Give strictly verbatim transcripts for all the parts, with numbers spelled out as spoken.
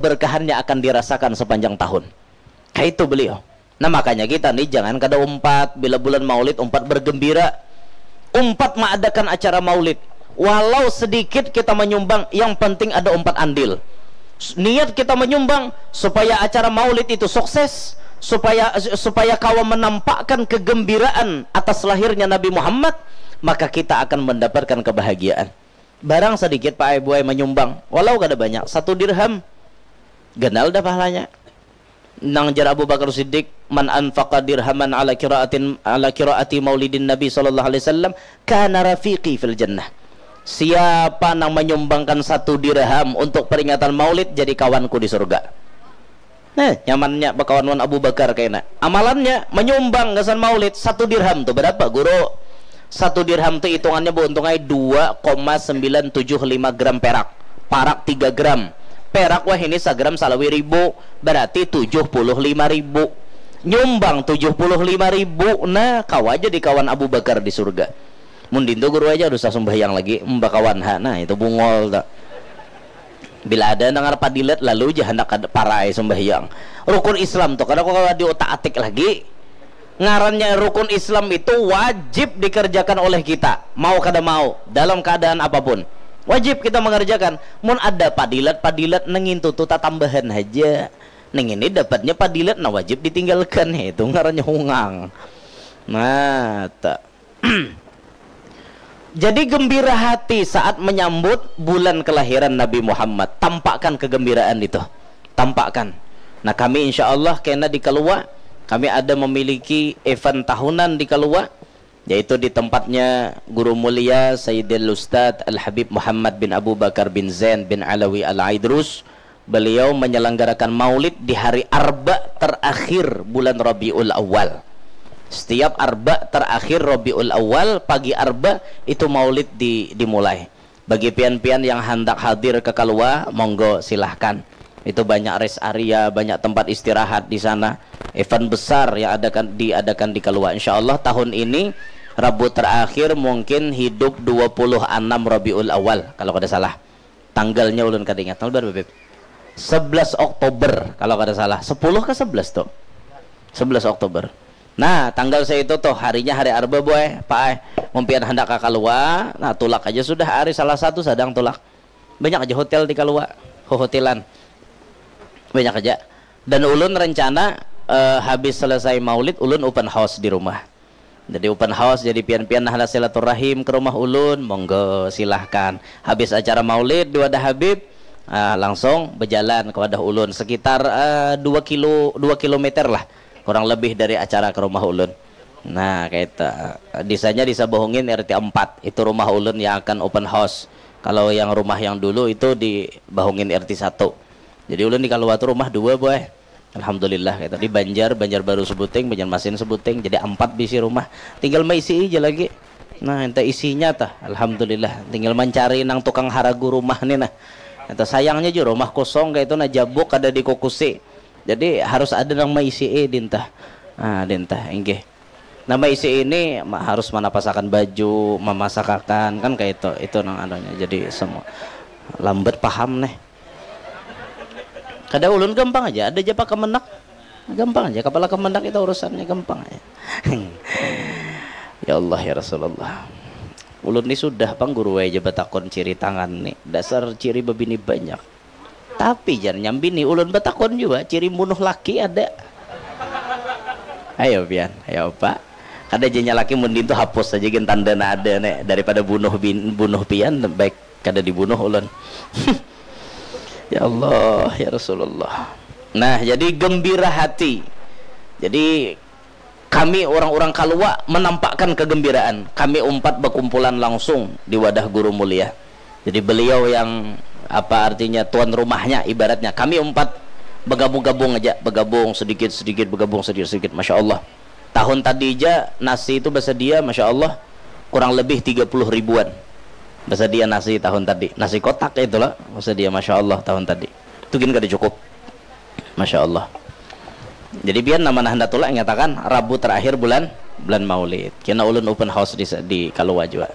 keberkahannya akan dirasakan sepanjang tahun. Kaitu beliau. Nah, makanya kita nih jangan kada umpat bila bulan Maulid umpat bergembira. Umpat maadakan acara Maulid. Walau sedikit kita menyumbang, yang penting ada umpat andil. S-, niat kita menyumbang supaya acara Maulid itu sukses, supaya supaya kawa menampakkan kegembiraan atas lahirnya Nabi Muhammad, maka kita akan mendapatkan kebahagiaan. Barang sedikit Pak Ai Buai menyumbang, walau kada banyak, satu dirham, ganal dah pahalanya. Nang jar Abu Bakar Siddiq, "Man anfaqa dirhaman ala qiraatin, ala qiraati maulidin Nabi sallallahu alaihi wasallam, kana rafiqi fil jannah." Siapa nang menyumbangkan satu dirham untuk peringatan Maulid, jadi kawanku di surga. Nah, nyamannya bakawan wan Abu Bakar kaina. Amalannya menyumbang gasan Maulid satu dirham tu berapa, Guru? Satu dirham tu hitungannya beuntung ai dua koma sembilan tujuh lima gram perak. Parak tiga gram. Perak wahini sagram salawi ribu, berarti tujuh puluh lima ribu. Nyumbang tujuh puluh lima ribu, nah, kawa jadi kawan Abu Bakar di surga. Mun dintu Guru aja usah sumbahyang lagi, mbakawan ha, nah, itu bungol tu. Bila ada nangar padilat, lalu ja handak kada parai sumbahyang. Rukun Islam tu kada kawa diutak-atik lagi. Ngarannya rukun Islam itu wajib dikerjakan oleh kita, mau kada mau, dalam keadaan apapun. Wajib kita mengerjakan. Mun ada padilat-padilat nang ngintu tu tatambahan haja. Nang ini dapatnya padilat, nah, wajib ditinggalkan. Itu ngarannya hungang. Nah, ta-, jadi gembira hati saat menyambut bulan kelahiran Nabi Muhammad. Tampakkan kegembiraan itu. Tampakkan. Nah, kami insya Allah kena di Kalua, kami ada memiliki event tahunan di Kalua, yaitu di tempatnya Guru Mulia Sayyidil Ustadz Al Habib Muhammad bin Abu Bakar bin Zain bin Alawi Al Aidrus. Beliau menyelenggarakan maulid di hari Arba terakhir bulan Rabiul Awal. Setiap Arba terakhir Rabiul Awal, pagi Arba, itu maulid di-, dimulai. Bagi pian-pian yang handak hadir ke Kalua, monggo, silahkan. Itu banyak rest area, banyak tempat istirahat di sana. Event besar yang adakan, diadakan di Kalua. Insya Allah tahun ini, Rabu terakhir mungkin hidup dua puluh enam Rabiul Awal, kalau kada salah. Tanggalnya ulun kada ingat. Tanggal berapa, Beb? Sebelas Oktober, kalau kada salah. Sepuluh ke sebelas tu? Sebelas Oktober. Nah, tanggal seitu tuh, harinya hari Arba, Boy, Pak ai. Mun pian handak ka Kalua, nah, tulak aja sudah, hari Salasa tu sadang tulak. Banyak aja hotel di Kalua, hohotelan. Banyak aja. Dan ulun rencana, eh, habis selesai maulid, ulun open house di rumah. Jadi open house, jadi pian-pian nah handak silaturahim ke rumah ulun, monggo, silahkan. Habis acara maulid di Wadah Habib, ah, langsung bejalan ke wadah ulun sekitar, eh, dua kilo, dua kilometer lah, kurang lebih dari acara ke rumah ulun. Nah, kayak itu. Disanya Desa Bahungin R T empat. Itu rumah ulun yang akan open house. Kalau yang rumah yang dulu itu di Bahungin R T satu. Jadi ulun di Kalua tu rumah dua, Boy. Alhamdulillah, kayak itu. Di Banjar, Banjarbaru sebuting, Banjarmasin sebuting. Jadi empat bisi rumah. Tinggal maisi aja lagi. Nah, ente isinya tah. Alhamdulillah. Tinggal mencari nang tukang haragu rumah nih, nah. Ente sayangnya juga rumah kosong kayak itu, nah, jabuk kada dikukusi. Jadi harus ada nang maisi, eh, dintah. Ah, dintah, inggih. Nah, maisi ini ma-, harus manapasakan baju, mamasakakan, kan kayak itu. Itu nang anunya. Jadi semua lambat paham nih. Kada, ulun gampang aja, ada aja pak kemenak. Gampang aja, kepala kemenak itu urusannya gampang aja. Ya Allah, ya Rasulullah. Ulun ni sudah pang guru aja batakon ciri tangan nih. Dasar ciri bebini banyak. Tapi jar nyambini, ulun batakon jua, ciri bunuh laki ada. Ayo pian, ayo apa? Kada janya laki mundin tu hapus saja gin tanda na ada ne, daripada bunuh bin, bunuh pian, baik kada dibunuh ulun. Ya Allah, ya Rasulullah. Nah, jadi gembira hati. Jadi kami orang-orang Kalua menampakkan kegembiraan. Kami umpat berkumpulan langsung di wadah guru mulia. Jadi beliau yang, apa artinya, tuan rumahnya ibaratnya. Kami umpat bergabung-gabung aja, bergabung sedikit-sedikit, bergabung sedikit-sedikit. Masya Allah. Tahun tadi aja nasi itu bersedia, Masya Allah, kurang lebih tiga puluh ribuan. Bersedia nasi tahun tadi. Nasi kotak itulah, bersedia, Masya Allah, tahun tadi. Itu gin kada cukup. Masya Allah. Jadi pian nama nah handak tulak nyatakan Rabu terakhir bulan, bulan Maulid. Kena ulun open house di, di Kalua jua.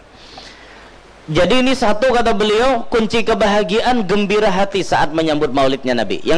Jadi ini satu kata beliau, kunci kebahagiaan gembira hati saat menyambut maulidnya Nabi. Yang